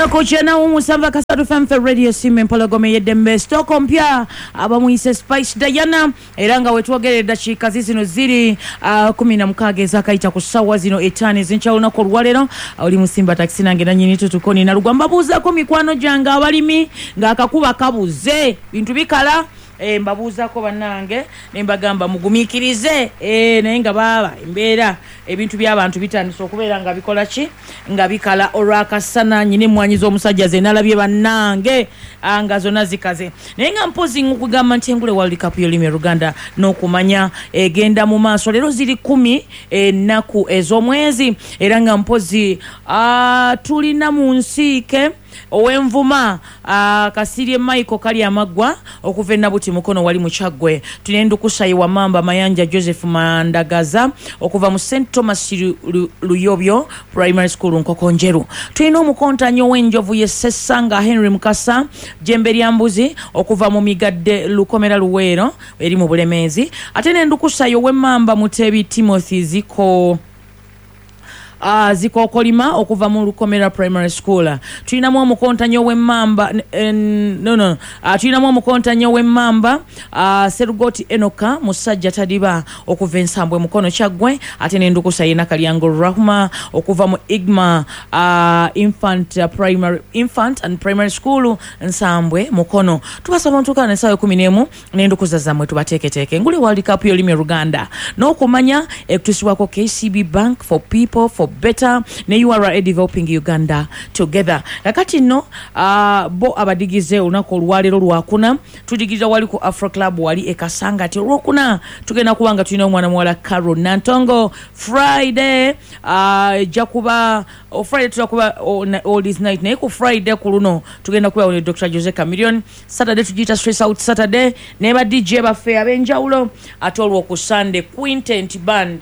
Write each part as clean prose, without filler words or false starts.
Ennaku 97 Kasatu FM Radio Simba Empologoma ey'eddembe. Sitooko mpya abamuyise Spice Diana, era nga wetwogerera eddakiika zizino ziri 16 ezakayita ku ssaawa zino 5 ez'enkya olunaku olwaleero. Oli musimba takisi nange nannyini tutukoni nalugwa. Mbabuuzaako mikwano gyange abalimi ng'akakuba kabuze, bintu bikala. Mbabuuzaako bannange ne mbagamba mugumiikirize, naye nga baaba embeera ebintu by'abantu bitandise okubeera nga bikola ki, nga bikala olw'akasana. Nyina emmwanyi z'omusajja ze nalabye bannange nga zonna zikaze, naye nga mpozi nkugamba nti engule World Cup y'olulimi Oluganda n'okumanya egenda mu maaso. Leero ziri 10 ennaku ez'omwezi, era nga mpozi tulina mu nsiike ow'envuma Kasirye Michael kali amaggwa okuva e Nabuti Mukono wali mu Kyaggwe. Tulina endukusa ye Wamamba Mayanja Joseph Mandagaza okuva mu St Thomas Luyobyo Primary School Nkokonjeru. Tulina omukontanyi ow'enjovu ye Ssessanga Henry Mukasa Jembe lya Mbuzi okuva mu Migadde Lukomera Luweero eri mu Bulemeezi. Ate n'endukusa ye ow'emmamba Mutebi Timothy Ziko Zikokolima okuva mu Lukomera Primary School. Tulinamu omukontanyi ow'emmamba no, tulinamu omukontanyi ow'emmamba Serugoti Enoka Musajja Tadiba okuva Ensambwe Mukono Kyaggwe. Ate n'endukusa ye Nakalyango Rahma okuva mu Igma Infant, Primary, Infant and Primary School Nsambwe Mukono. Tubasaba ntuukana n'essaawa 11 n'endukuza zammwe tubateeketeeke. Engule World Cup y'olulimi Oluganda n'okumanya ekutuusibwako KCB Bank, for people for better, ne URA, developing Uganda together. Kakati nno bo abadigize olunaku olwaleero lwakuna tudigirira wali ku Afro Club wali e Kasangati. Olwokuna tugenda kuba nga tulina omwana muwala Carol Nantongo. Friday ejja kuba Friday tujja kuba Oldies Night, naye ku Friday ku luno tugenda kuba ne Dr Jose Chameleone. Saturday tugiyita Stress Out Saturday ne ba DJ baffe ab'enjawulo. Ate olwo ku Sunday Quintet Band,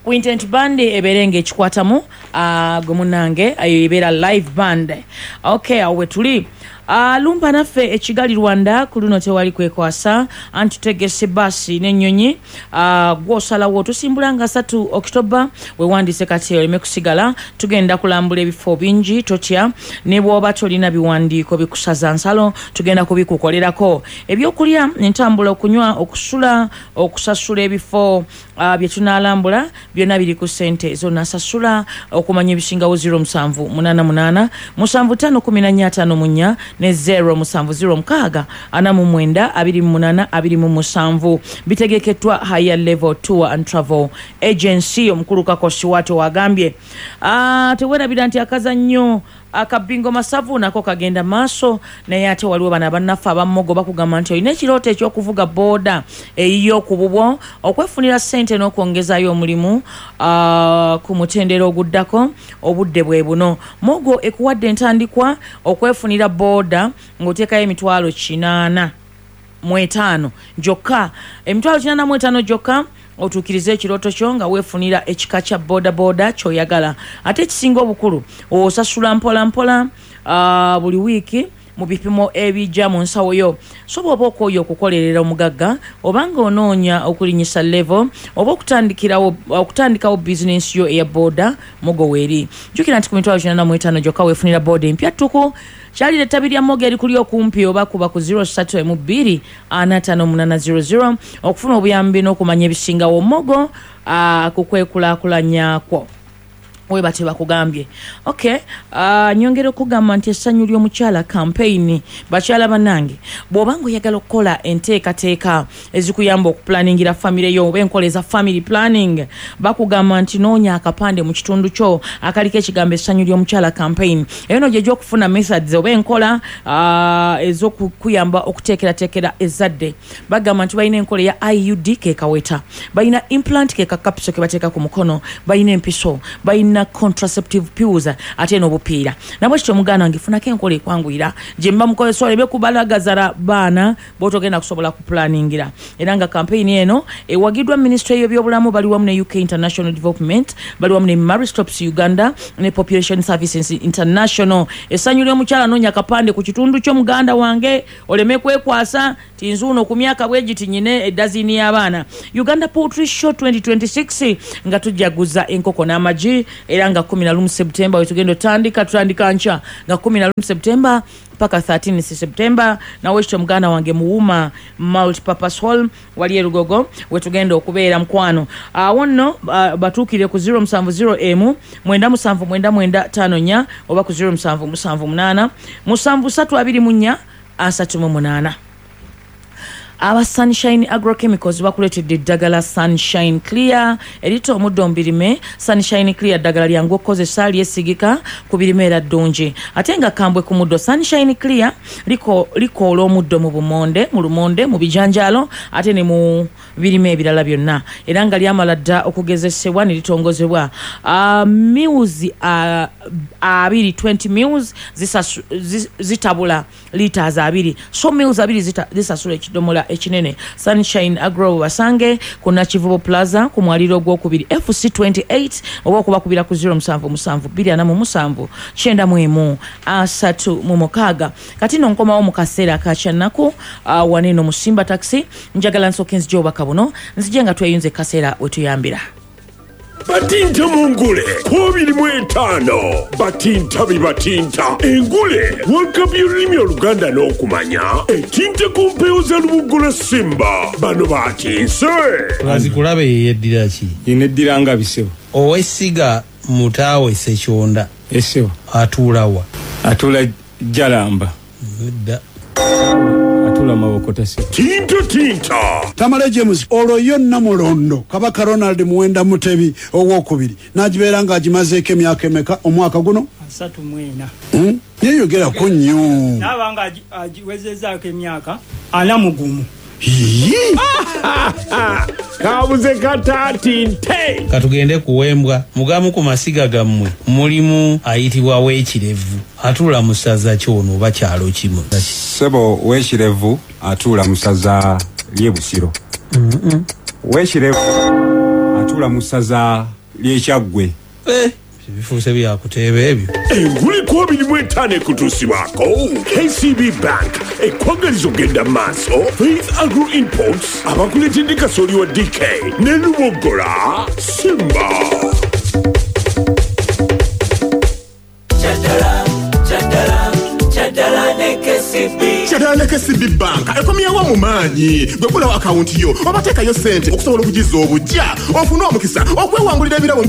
Quintet Band ebeere ng'ekikwatamu gwe munnange, eyo ebeera live band. Okay, awo we tuli. Lumba naffe e Kigali Rwanda ku luno tewali kwekwasa, anti tutegese baasi n'ennyonyi, gw'osalawo. Tusimbula nga 3 October. Wewandiise kati oleme kusigala. Tugenda kulambula ebifo bingi, totya. Ne bw'oba tolina biwandiiko bikusaza nsalo, tugenda kubikukolerako. Ebyokulya, entambula, okunywa, okusula, okusasula ebifo bye tunaalambula byonna biri ku ssente zonasasula. Okumanya ebisingawo, 0788 75 14 54 ne 0706 49 28 27. Bitegekeddwa Higher Level Tour and Travel Agency. Omukulu Kakosi wato wagambye, tewerabira nti akazannyo akabingo masavu nako kagenda maaso, naye ate waliwo bano abannaffe abammogo bakugamba nti olina ekirooto ekyokuvuga booda eyiyo ku bubwo, okwefunira ssente n'okwongezayo omulimu ku mutendera oguddako, obudde bwe buno. Mogo ekuwadde entandikwa okwefunira booda ng'oteekayo 805 gyokka, 805 gyokka, otuukirize ekirooto kyo nga weefunira ekika kya boda kyoyagala. Ate ekisinga obukulu, osasula mpola mpola buli wiiki mu bipimo ebijja mu nsawo yo. So bw'oba okooye okukolerera omugagga, obanga onoonya okulinyisa level oba okutandikawo bizinensi yo eya boda, Mogo weeri. Jjukira nti ku 805 gyokka weefunira boda empya ttuku. Kyalira ettabi lya Mogo erikuli okumpi oba kuba ku 03 45800 okufuna obuyambi n'okumanya ebisingawo. Mogo ku kwekulaakulanya kwo weba tebakugambye. Okay, nyongera okugamba nti essanyu ly'omukyala campaign. Bakyala bannange, bw'oba nga oyagala okukola enteekateeka ezikuyamba okuplanningira famire yo oba enkola eza family planning, bakugamba nti noonya akapande mu kitundu kyo akaliko ekigambo "Essanyu ly'omukyala campaign". Eyo no gyejja okufuna methods oba enkola ez'okukuyamba okuteekerateekera ezzadde. Bagamba nti balina enkola eya IUD, kekaweta, balina implant, ke kakapiso ke bateeka ku mukono, balina empiso, balina contraceptive pills, ate n'obupiira. Nabwe kityo, muganda wange, funako enkola ekwanguyira gye mba mukozesa oleme kubalagazala baana bwotogenda kusobola kuplanningira. Era nga campaign eno ewagiddwa Ministry y'ebyobulamu, bali wamu ne UK International Development, bali wamu ne Marie Stopes Uganda ne Population Services International. Essanyu ly'omukyala, noonya akapande ku kitundu kyo, muganda wange, oleme kwekwasa ti nzuuno ku myaka bwe giti nyine edazini y'abaana. Uganda Poultry Show 2026 nga tujaguza enkoko n'amagi. Era nga 11 September wetugenda otandika, tutandika nkya nga 11 September paka 13 September. Nawe ekyo muganda wange muwuma multipurpose hall wali erugogo wetugenda okubeera mukwano. Awo nno batuukire ku 070 emu 97 99 54 oba ku 0778 7324 38. Aba Sunshine Agrochemicals bakuleetedde eddagala Sunshine Clear erita omuddo mu birime. Sunshine Clear ddagala lyangu okukozesa, lyesigika ku birime era ddungi ate nga kambwe ku muddo. Sunshine Clear likoola omuddo mu bumonde, mu lumonde, mu bijanjaalo ate ne mu birime ebirala byonna, era nga lyamala dda okugezesebwa ne litongozebwa. Mils 2 20 mils zitabula litres 2, so mils 2 zisasula ekidomola ekinene. Sunshine Agro basange ku Nakivubo Plaza ku mwaliro ogwokubiri FC 28 oba okubakubira ku 077 247 91 36. Kati nno nkomawo mu kaseera akakyannaku waneno mu Simba Taxi. Njagala nsooke nzije obubaka buno, nzije nga tweyunze kaseera wetuyambira. Batinta mu ngule 25 batinta bibatinta engule World Cup y'olulimi Oluganda n'okumanya etinta ku mpewo za Lubugola Simba. Bano batinse Azikulabe yeyeddira ki? Yeneddira nga bisebo. Owessiga Mutaawe Ssekyonda. Essebo. Atuula wa? Atuula Jalamba. Nedda. Atuula Mabokota ssebo. Tinta tinta. Tamale James olwo yo Namulondo Kabaka Ronald Muwenda Mutebi owokubiri n'agibeera ng'agimazeeko emyaka emeka omwaka guno? 34. Yeeyogerako nnyo. Naaba nga agiwezezaako emyaka 41. Kabuze kataatinte. Katugende kuwembwa. Mugamu ku masiga gammwe mulimu ayitibwa Weekirevu. Atuula mu ssaza kyono oba kyalo kimu? Ssebo, Weekirevu atuula mu ssaza ly'e Busiro. Weekirevu atuula mu ssaza ly'e Kyaggwe. Bifuuse byakuteeba ebyo. Engule 25 ekutuusibwako KCB Bank ekwagaliza okugenda mu maaso. Faith Agro Imports abakuleetedde kasooli wa DK ne Lubogola Simba. Kyadala ne KCB Bank ekomyewo mu maanyi. Gwe ggulawo akawunti yo oba teekayo ssente okusobola okugizza obujja ofune omukisa okwewangulira ebirabo.